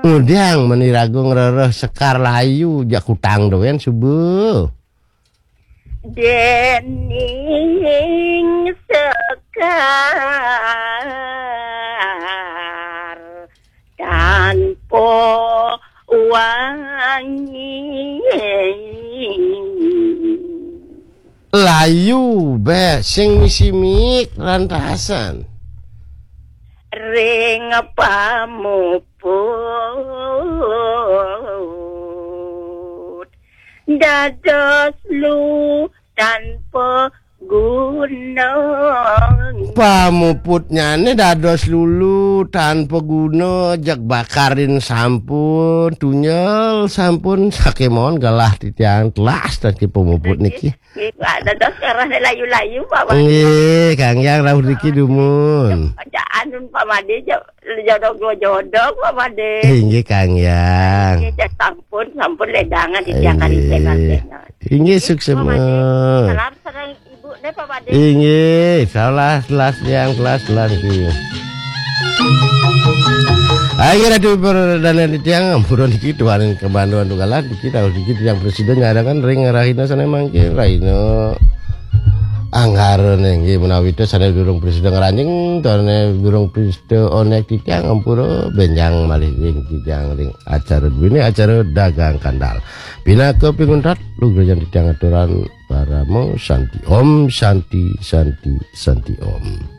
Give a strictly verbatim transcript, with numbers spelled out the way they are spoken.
Ngudang meni raga ngrereh sekar layu, jak kutang dowén suba. Dening sekar tanpa wangi. Layu, béh, sing misi mik lan rasan. Ring pamuput dados lu tanpa guna. Pamuputnyane dados lulu tanpa guna, jeg bakarin sampun, tunyel sampun, sakémaon gelah titiang telas tadi pamuput niki. Nggih, Pak, dados kerahne layu-layu, Pak Made. Nggih, Kang Yang rauh niki dumun. Aja anun, Pak Made, jo-, jodok dua jodok, Pak Made. Inggih, Kang Yang. Nggih, sampun, sampun ledangan di tiang kali Inggih. Inggih, Pak Made. Salam sareng ibu ne, Pak Made. Inggih, salah telas yang telas telas niki. Ayo, Ratu, para dalan tiang, ampura niki tuaning kebanduan tunggalan niki, tahu niki tiang presiden nyarangan ring rahina sane mangke, rahina Anggara nggih, menawi to sane durung presiden ngranjing, tone durung presiden onek tiang, ampura benjang malih ring tiang ring acara duwene acara dagang kandal. Pinaka pinguntat, lugrayan tiang aturan parama santi. Om santi, santi, santi om.